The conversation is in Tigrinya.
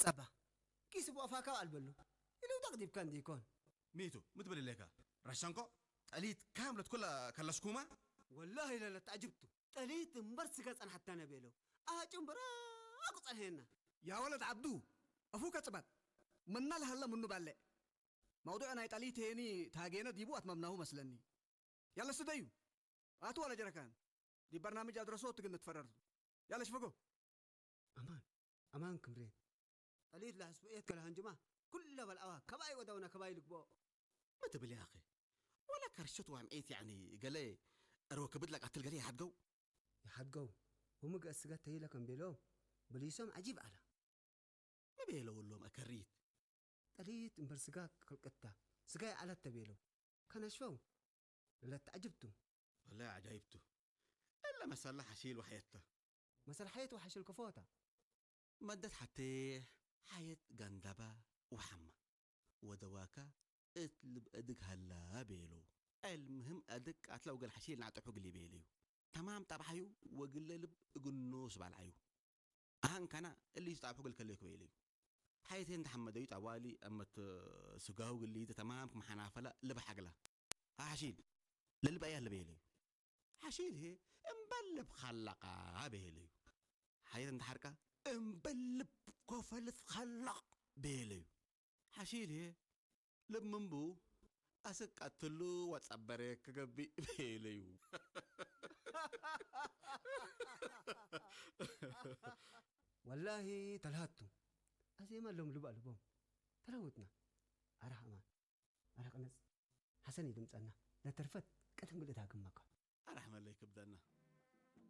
ጸባ ኪስ ብኦፋካ ኣልበሉ ኢሉ ደቅዲብካ እንዲኮን። ሚቱ ምትብል ሌካ ራሻንኮ ጠሊት ካምለት ኩላ ከለስኩማ ወላሂ ለለት ዓጅብቱ ጠሊት እምበር ስጋ ጸንሓታ ነበለው ኣጭምብራ ቁጸንሄና يا ولد عبدو أفوك أتبت من نال هلا منو بالي موضوع ناي تالي تيني تاجينا ديبو أتممناه مسلني يلا سديو هاتوا ولا جركان دي برنامج أدرسوه تقن نتفرر يلا شفقوا ኣማን ኣማን ክምሬ ጠሊት ላሕስብኤት ከልሃንጅማ ኩለ በልኣዋ ከባይ ወደውና ከባይ ልግቦ ምትብል ያኺ ወላ ከርሸት ዋምዒት ያኒ ገለ እርወ ክብድ ለቃትል ገለ ይሓድገው ይሓድገው ወምግእ ስጋ ተይለ ከም ቤሎ ብልይሶም ዓጂብ ኣላ ምቤለውሎም ኣከሪት ጠሊት እምበር ስጋ ክልቅታ ስጋ ይዓለት ተቤለው ከነሽፈው ለለት ዓጅብቱ ወላ ዓጃይብቱ እለ መሰላ ሓሺል ወሓየታ መሰል ሓየት ወሓሽል ከፎታ መደት ሓቴሕ ሓየት ጋንዳባ ወሓማ ወደዋካ እት ልብ እድግ ሃላ ቤሉ ዕልምህም እድግ ቃትላ ወገል ሓሺል ናዕጠሑ ግሊ ቤልዩ ተማም ጣብሓዩ ወግለ ልብ እግኖ ስባልዓዩ ኣሃንካና እሊ ዝጣብሑ ግል ከለዩ ክበይልዩ ሓየቴ እንተሓመደዩ ጣዋሊ እመት ስጋሁ ግሊ ተማም ክመሓናፈላ ልብ ሓግላ ሓሺል ለልብ ኣያ ልበየለዩ ሓሺል ሄ እምበልብ ኻላቃ በየለዩ ሓየት እንተሓርቃ እምበልብ ኮፈልት ኻላቅ በየለዩ ሓሺል ሄ ልብ ምንቡ ኣስቃትሉ ወጸበረ ክገብእ በየለዩ ወላሂ ተልሃቱ ኣዜማ ሎም ልብ ኣልቦም ተለውጥና ኣረ ኣማን ኣረ ቅነጽ ሓሰን ይድምጸና ለተርፈት ቀደም ግልእት ሃግመካ ኣራሕመለይ ክብደና